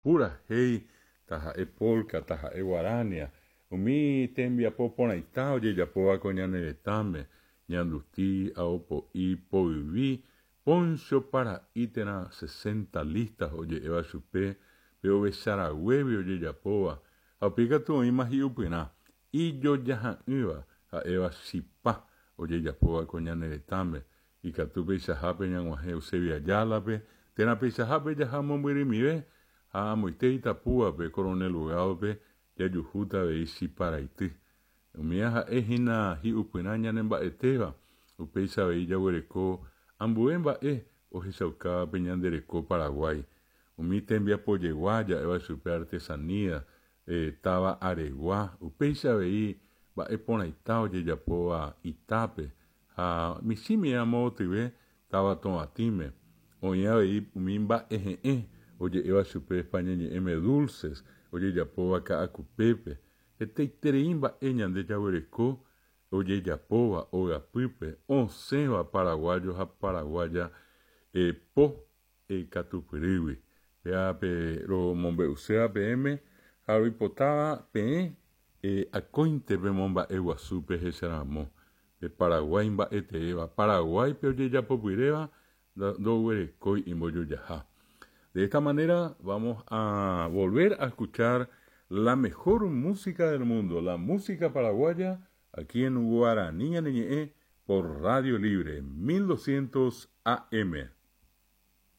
Purahéi, taha'e polka, taha'e guarania, umi tembiapo porãita ojejapóva ko ñane retãme, ñanduti, ao po'i, poyvi, poncho para'i térã sesenta listas oje'éva chupe, pe ovecha raguégui ojejapóva, ha upéi katu oĩma hi'upyrã, ijojaha'ỹva, ha'éva chipa ojejapóva ko ñane retãme, Ikatu peichahápe ñag̃uahẽ Eusebio Ayala-pe, térã peichahápe jaha mombyrymive ha amoite Itapúape, Coronel Bogado-pe, jajuhúta avei Chiparaity. Umíva ha'e hína hi'upyrã ñanemba'etéva, upéicha avei jaguereko ambue mba'e ohechaukáva pe ñande reko Paraguái. Umi tembiapojegua ja'éva chupe artesanía, táva Aregua, upéicha avei mba'e porãita ojejapóva itápe Ha michĩmi amotyve táva Tovatĩme, oĩ avei umi mba'ehe'ẽ oje'éva chupe España ñe'ẽme dulces, ojejapóva Ka'akupépe. Hetaiterei mba'e ñande jaguereko ojejapóva ogapýpe osẽva paraguayo ha paraguaya po ikatupyrýgui. Péva pe romombe'uséva peẽme ha roipotáva peẽ akóinte pemomba'eguasu pehecharamo pe Paraguái mba'e teéva. Paraguáipe ojejapopyréva ndoguerekói imbojojaha. De esta manera vamos a volver a escuchar la mejor música del mundo, la música paraguaya, aquí en Guaraní ñane ñe'ẽ por Radio Libre 1200 AM.